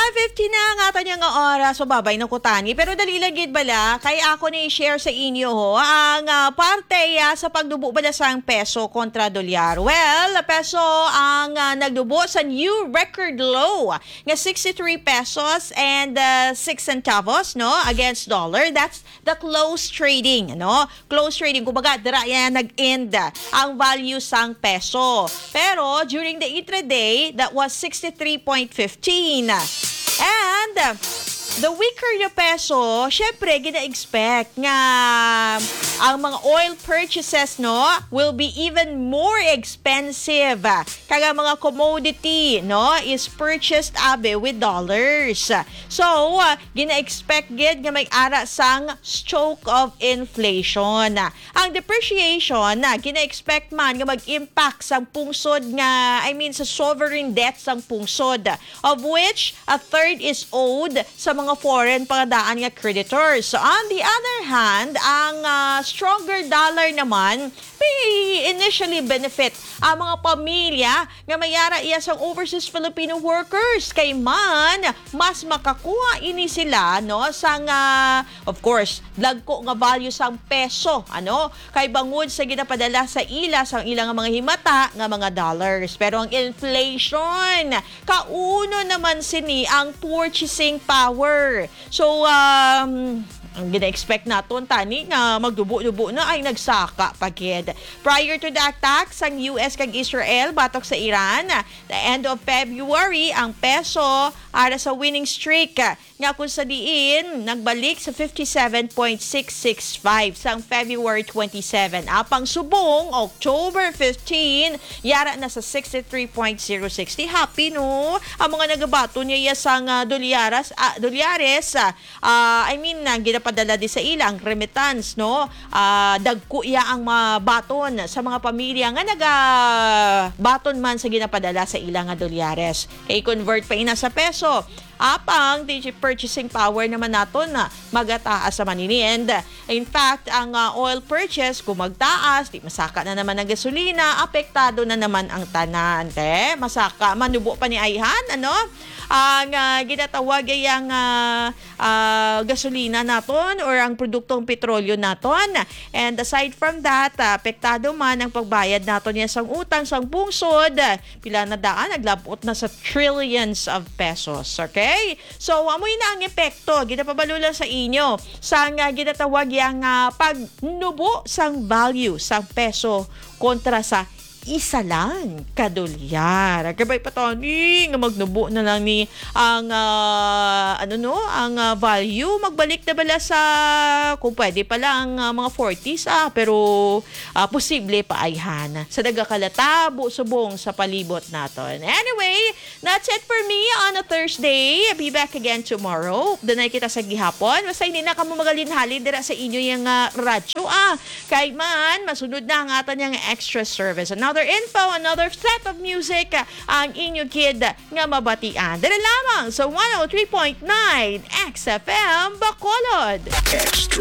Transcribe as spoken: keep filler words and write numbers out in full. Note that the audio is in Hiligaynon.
Fifteen na ang aton nga oras, so babay na ko tani. Pero dali lang gid bala, kay ako ni share sa inyo ho, ang ah, parte ya sa pagdubo bala sang peso kontra dolyar. Well, peso ang ah, nagdubo sa new record low nga sixty-three pesos and ah, six centavos, no, against dollar. That's the close trading, no? Close trading, kumbaga, dira yan nag-end ang value sang peso. Pero during the intraday, that was sixty-three point fifteen. And the weaker the peso, syempre, gina-expect nga ang mga oil purchases, no, will be even more expensive. Kag ang mga commodity, no, is purchased, abi, with dollars. So, uh, gina-expect gid nga may ara sang stroke of inflation. Ang depreciation na gina-expect man nga mag-impact sang pungsod nga, I mean, sa sovereign debt sang pungsod, of which a third is owed sa mga foreign pangadaan nga creditors. So, on the other hand, ang ah, stronger dollar naman may initially benefit ang mga pamilya nga may ara iya sang overseas Filipino workers, kay man mas makakuha ini sila, no, sang ah, of course, dagko nga value sang peso, ano, kay bangod sa ginapadala sa ila sang ila nga mga himata nga mga dollars. Pero ang inflation, kauno naman sini ang purchasing power. So, um, ang gina-expect naton tani nga magdubo-dubo na ay nagsaka pa gid. Prior to the attack sang U S kag Israel batok sa Iran, the end of February, ang peso ara sa winning streak nga kung sa diin nagbalik sa fifty-seven point six six five sang February twenty-seven. Apang subong October fifteen, yara na sa sixty-three point zero six. Di happy, no? Ang mga nagabaton niya sang ah, dolyaras, ah, dolyares, ah, ah, I mean, ang ginapadala di sa ila, ang remittance, no? Ah, dagko iya ang mabaton sa mga pamilya nga nagabaton man sa ginapadala sa ila nga dolyares. Kay convert pa ina sa peso. Apang, di purchasing power naman naton na magataas sa manini. And, in fact, ang ah, oil purchase, kung magtaas, di masaka na naman ang gasolina, apektado na naman ang tanan. Te, masaka, manubo pa ni ayhan, ano? Ang ah, ginatawag ay ang ah, ah, gasolina naton or ang produktong petrolyo naton. And aside from that, ah, apektado man ang pagbayad naton niya sang utang sang pungsod. Pila na daan, naglabot na sa trillions of pesos. Okay? So, amoy na ang epekto. Ginapabalo lang sa inyo. Sa nga ginatawag yang ah, pagnubo sang value sang peso kontra sa isa lang ka dolyar. Kabay pa tani nga magnubo na lang ni ang ah, ano, no, ang ah, value. Magbalik na bala sa, kung pwede pa lang, ah, mga forties, ah, pero ah, posible pa ayhan sa nagakalatabo subong sa palibot naton. Anyway, that's it for me on a Thursday. Be back again tomorrow. Dunay kita sa gihapon. Basta hindi na kamo magalinhalin dira sa inyo yang ah, radyo, ah. Kay man, masunod na ang aton yang extra service. Another info, another set of music, ah, ang inyo kid nga mabatian. Dira lamang sa one oh three point nine X F M Bacolod. Extra.